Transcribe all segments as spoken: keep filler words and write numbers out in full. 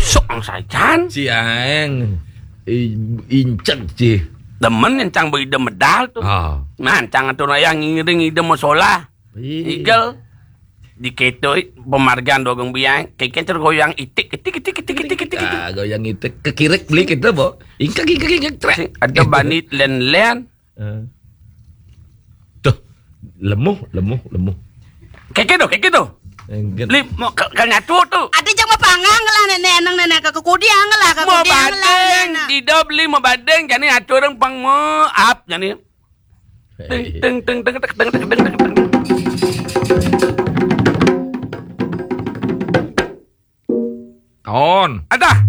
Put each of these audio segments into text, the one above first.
Sok ang sajan. Ciang. I-, inceg, ci. Demen yang cang beida medal tuh. Ah. Nah, cang atur ayah ngiring ida masolah. Iya. Igel. Di keto, pemargan dogang biang, keken tergoyang itik, itik, itik, itik, itik, itik, itik. Ah, goyang itik. Kekirik beli kita, Bo. Ingkek, ingkek, ingkek, trek. Sing ada banit len-len. Eh. Tuh, lemuh, lemuh, lemuh. Keke tuh, keke tuh. Enggak. Li, mau ke, ke nyatu tuh. Ada jang mau panggang lah, nenek, enang nenek, ke kudiang lah, ke mau kudiang lah, badeng, nenek. Di dop li mau badeng, jani atur orang pang mau up, jani. Teng, teng, teng, teng, teng, teng, teng, teng, teng. Kon. Ada.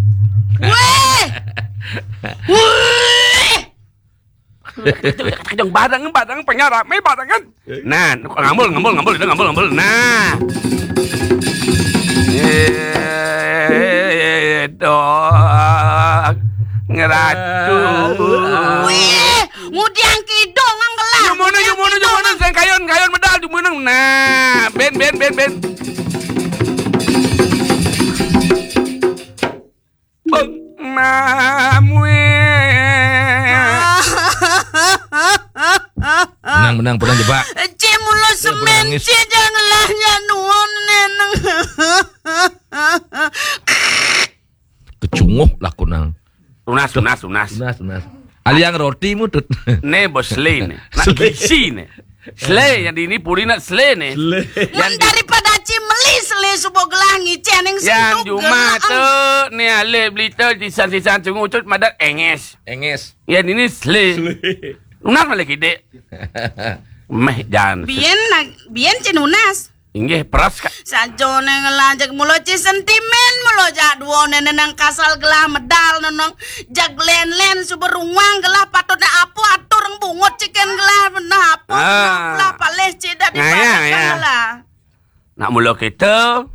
Weh. Weh. Yang barang, barang, pengarame, barangan. Nah, ngambul, ngambul, ngambul, itu ngambul, ngambul. Nah. Itu. Ngeratu. Weh. Ngudiang kidung, ang gelah. Jumunu, jumunu, jumunu, sing kayun, kayun medal, jumunu. Nah, ben, ben, ben, ben. Beng, mamue. Menang, menang, menang, jebak. Ci mulu semen, nangis. Ci janganlah ya nuwun, neneng. Kecunguh lah kunang. Tunas, tunas, tunas. Tunas, tunas. Aliang roti mutut. Ne bos le ne. Nak sele. Gisi ne. Sele yang di ini puri nak sele ne. Sele. Mun daripada ci meli sele subo gelah ngicen yang yang sentuk cuma gelah. Tuh ne ale beli tuh sisan-sisan cunguh cut madat enges. Enges. Yang ini sele. Sele. Tunas malah kide. Meh jan. Bien nak, bien ci nunas. Inggih, peras, Kak. Sajone ngelajak mulo ci sentimen mulo jak duo nene nang kasal gelah medal nenong jak len-len suber ruang gelah patutne apo atur reng bungut ciken gelah benah apo ah. Lah palih ci dak ngaya, dipadatkan ngaya. Gelah. Nak mulo kita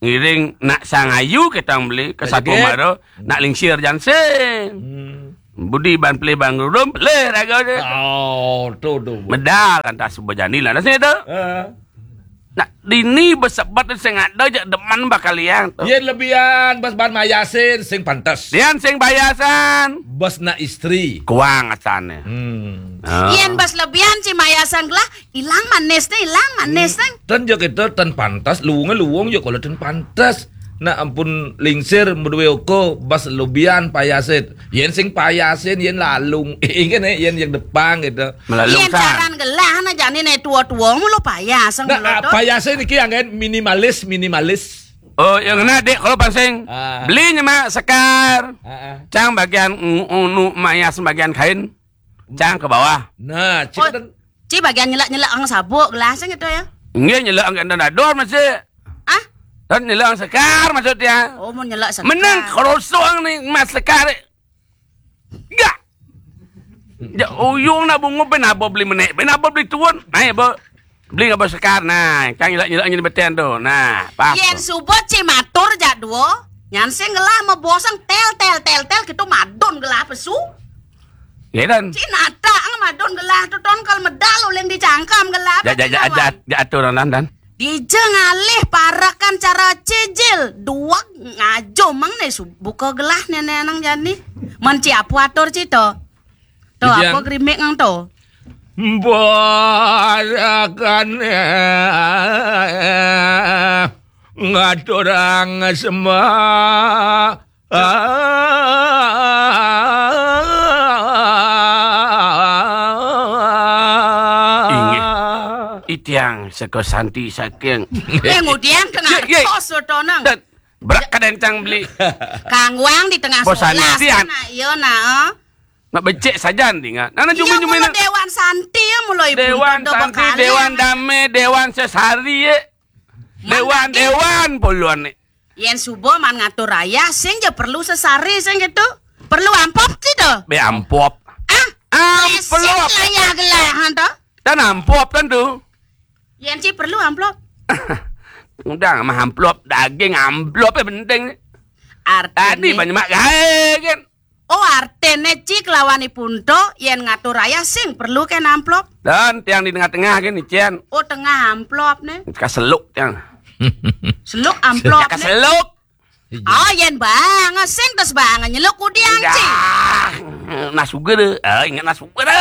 ngiring nak sangayu kita beli ke satu maro nak lingsir jansing. Hmm. Budi ban pelih ban gerudum, pelih raga dia. Oh, tu, tu. Medal lantas sebejani lah nasi tu. Heeh. Nah, dini besebat sing ada jak demen bakal liang tu. Yen lebihan bas ban mayasin sing pantes. Yen sing bayasan. Bas nak istri. Kuang asane. Hmm. Ah. Yen bas lebihan si mayasan gelah, ilang manis ne, ilang manis ne. Hmm. Ten jo kita ten pantes, luwunge luwung jo kalau ten pantes. Nak ampun lingsir medue oko bas lebihan payasin. Yen sing payasin yen lalung. Ingin eh, yen yang depan gitu. Melalung yen san. Caran gelah na jani ne tua-tua mulo payas. Nah, mulo ah, payas niki anggen minimalis, minimalis. Oh, yang kena dek kalau pansing. Ah. Beli nyemak sekar. Ah, ah. Cang bagian unu mayas bagian kain. Cang ke bawah. Nah, oh, cik ci bagian nyelak-nyelak ang sabuk gelah sing gitu ya. Nggih nyelak ang kena dador masih. Ah? Dan nyelak ang sekar maksudnya. Oh, mau nyelak sekar. Menang kerosong nih mas sekar. Enggak. Ya, uyung nak bungu ben apa beli menek, ben apa beli tuan. Nah, ya, Bu. Beli apa sekar. Nah, cang nyelak-nyelak nyelak beten tu. Nah, pas. Yen tu. Subut ci matur jak duo. Nyan sing gelah mebosang tel tel tel tel gitu madon gelah pesu. Ya dan. Ci nata ang madon gelah tu ton kal medal uling dicangkam gelah. Ja ja ja ja ja atur nan dan. Dija ngalih parakan cara cicil, duweg ngajo meng ne su-, buka gelah nene nang jani. Men ci apo atur ci to? To apo grimik nang to? Parakan, eh, ngaturang sembah. Inggih, itiang seka santi saking. Eh, ngudian tengah kos to nang. Dan brak kadang cang beli. Kangguang di tengah sekolah. Santi, nak, iya, nak, eh. Nak becek sajan dinga. Nana jumi-jumi nak. Dewan santi, ya, mulai Dewan santi, dewan dame, dewan sesari, ya. Dewan, dewan puluhan, nih. Yen suba man ngatur rayah, sing ja perlu sesari, sing gitu. Perlu amplop ci to? Be amplop. Ah, amplop. Lah ya gelah, han to? Dan amplop tentu. Yen ci perlu amplop. Udah mah amplop, daging amplop ya penting. Artine. Tadi banyak mak gae kan. Oh, artine ci kelawan ipun to, yen ngatur rayah sing perlu ken amplop. Dan tiang di tengah-tengah kan, icen. Oh, tengah amplop ne. Kaseluk tiang. Seluk amplop ne. Kaseluk. Oh, yén bang, sing tes bang nyeluk kudiang ci. Nah sugra. Oh, ingat nah sugra.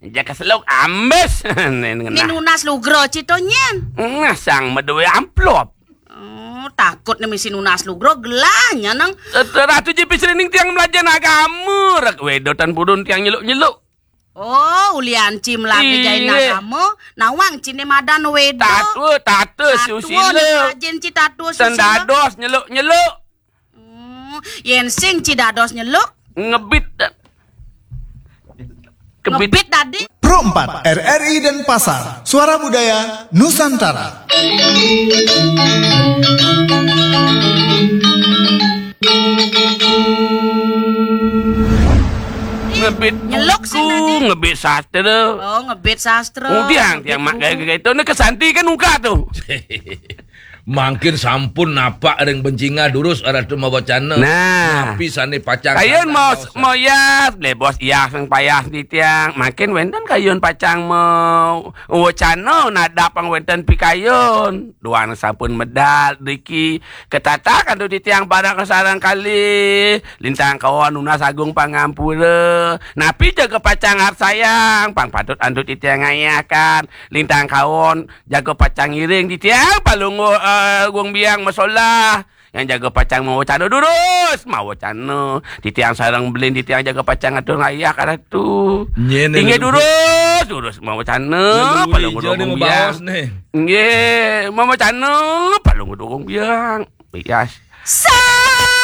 Jaka seluk ambis. Né nunas lugra ci to nyén. Nah, sang madué amplop. Oh, takut né misi nunas lugra, gelahnya nang. Ratu J P Srining tiang melajahin agama, rak wedo tan purun tiang nyeluk-nyeluk. Oh, ulian ci melake jain agama, nawang ci né madan wedo. Tatua, tatua susila. Rajin ci tatua susila. Ten dados nyeluk-nyeluk. Hmm, yén sing ci dados nyeluk. Ngebit. Kebit. Ngebit tadi. Pro empat, R R I Denpasar, Suara Budaya Nusantara. Ngebit nyeluk sing tadi. Ngebit sastra. Oh, ngebit sastra. Udiang tiang mak gaya-gaya itu. Né kesanti kan muka tuh. Mangkin sampun napak ring bencingah durus Ratu mawacana. Nah. Napi sané pacang kayun mau, mau yas, blebos iyas sing payas titiang. Mangkin wénten kayun pacang mau wacana nadap pang wénten pikayun. Duang sampun medal driki ketatak antuk titiang bareng sareng kalih. Lintang kaon nunas agung pangampura. Napi jaga pacang arsayang pang patut antuk titiang ngayahaken. Lintang kaon jaga pacang ngiring titiang Palungguh, eh, Agung Biang masolah. Yang jaga pacang mawacana durus, mawacana. Titiang sareng belin titiang jaga pacang atur ngayah ka Ratu. Nyén. Inggih durus, durus mawacana, Palungguh Agung Biang. Inggih, mawacana, Palungguh Agung Biang. Bias. Sa-